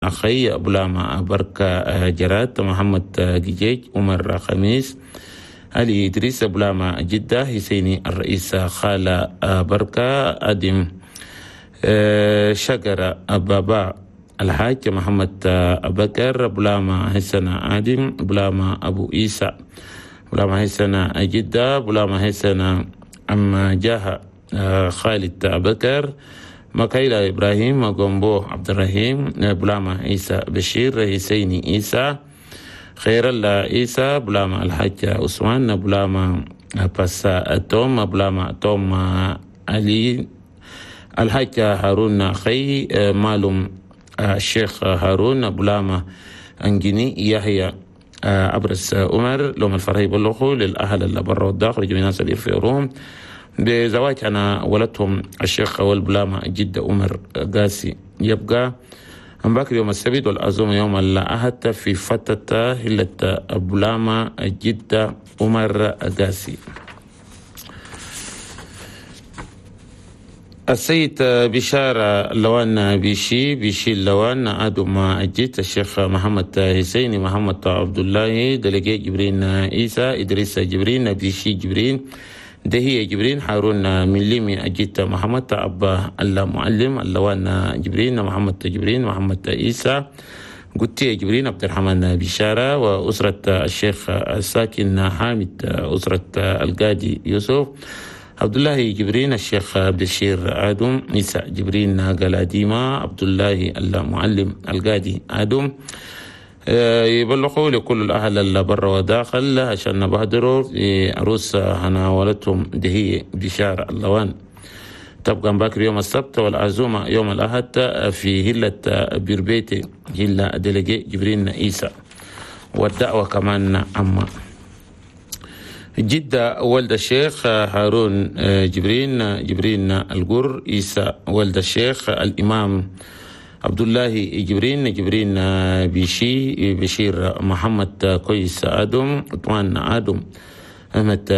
أخي بلاما بركة جرات، محمد جيج، عمر خميس، علي إدريس بلاما جدة، حسيني الرئيس خالة بركة، أدم شجرة بابا الحاج محمد بكر، بلاما حسن آدم، بلاما أبو إيسى، بلاما حسن جدة، بلاما حسن أم جاه خالد بكر، مكايلا إبراهيم، غومبو عبد الرحيم، بلاما عيسى بشير، حسيني عيسى، خير الله عيسى، بلاما الحاج عثمان، بلاما باسا توم، بلاما توم علي، الحاج هارون خي، مالوم الشيخ هارون، بلاما أنجيني يحيى أبرس عمر. لهم الفرح يبلغوا للأهل اللي برا والداخل جميع الناس اللي في روم بزواج أنا ولدهم الشيخ والبلامة جدة عمر قاسي. يبقى باكر يوم السبت والعزومة يوم الأحد في فتة هلة بلامة جدة عمر قاسي. السيد بشارة لوان بيشي بيشي اللوان آدم الجيت الشيخ محمد حسيني محمد عبد الله دلقي جبرين عيسى إدريس جبرين بيشي جبرين دهية جبرين هارون مليمي أجيت محمد أبا المعلم اللوان جبرين محمد جبرين محمد عيسى قتي جبرين عبد الرحمن بشارة وأسرة الشيخ الساكن حامد أسرة القاضي يوسف عبد الله جبرين الشيخ بشير آدم عيسى جبرين قلاديمة عبد الله المعلم القاضي آدم. يبلغوا لكل الأهل اللي برا وداخل عشان نبهدروا عروس هناولتهم دهية بشارة اللوان. تبقى باكر يوم السبت والعزومة يوم الأحد في هلة بيربيتي هلة دلقي جبرين عيسى والدعوة كمان أما جدة ولد الشيخ هارون جبرين جبرين القر عيسى ولد الشيخ الإمام عبد الله جبرين جبرين بيشي بشير محمد كويس آدم عثمان آدم أحمد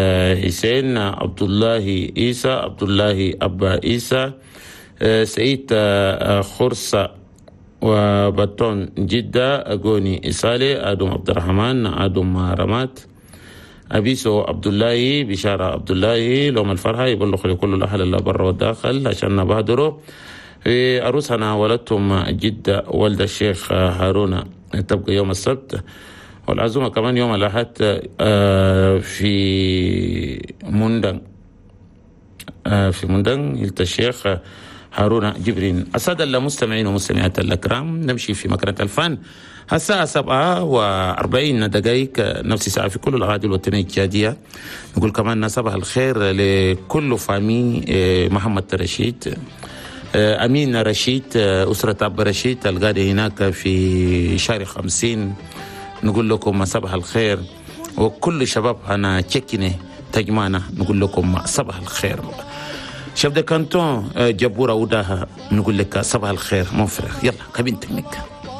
حسين عبد الله عيسى عبد الله أبا عيسى سعيد خرصة وبطون جدة أغوني إسالي آدم عبد الرحمن آدم رمات أبيسو عبد الله بشارة عبد الله. لهم الفرحة يبلغ لكل الأهل اللي برا والداخل عشان نبادروا عروسنا ولدتهم جدة ولد الشيخ هارون. تبقى يوم السبت والعزومة كمان يوم الأحد في مندن في مندن هلت الشيخ هارون جبرين. السادة المستمعين ومستمعات الأكرام نمشي في مكانة الفن الساعة 7:40 نفس ساعة في كل الأراضي الوطنية الجادية. نقول كمان صباح الخير لكل فامي محمد رشيد أمين رشيد أسرة أب رشيد الغادي هناك في شارع 50. نقول لكم صباح الخير وكل شباب أنا تشكيني تجمعنا نقول لكم صباح الخير. chef de canton جبورة وداها نقول لك صباح الخير mon frère. يلا cabine technique.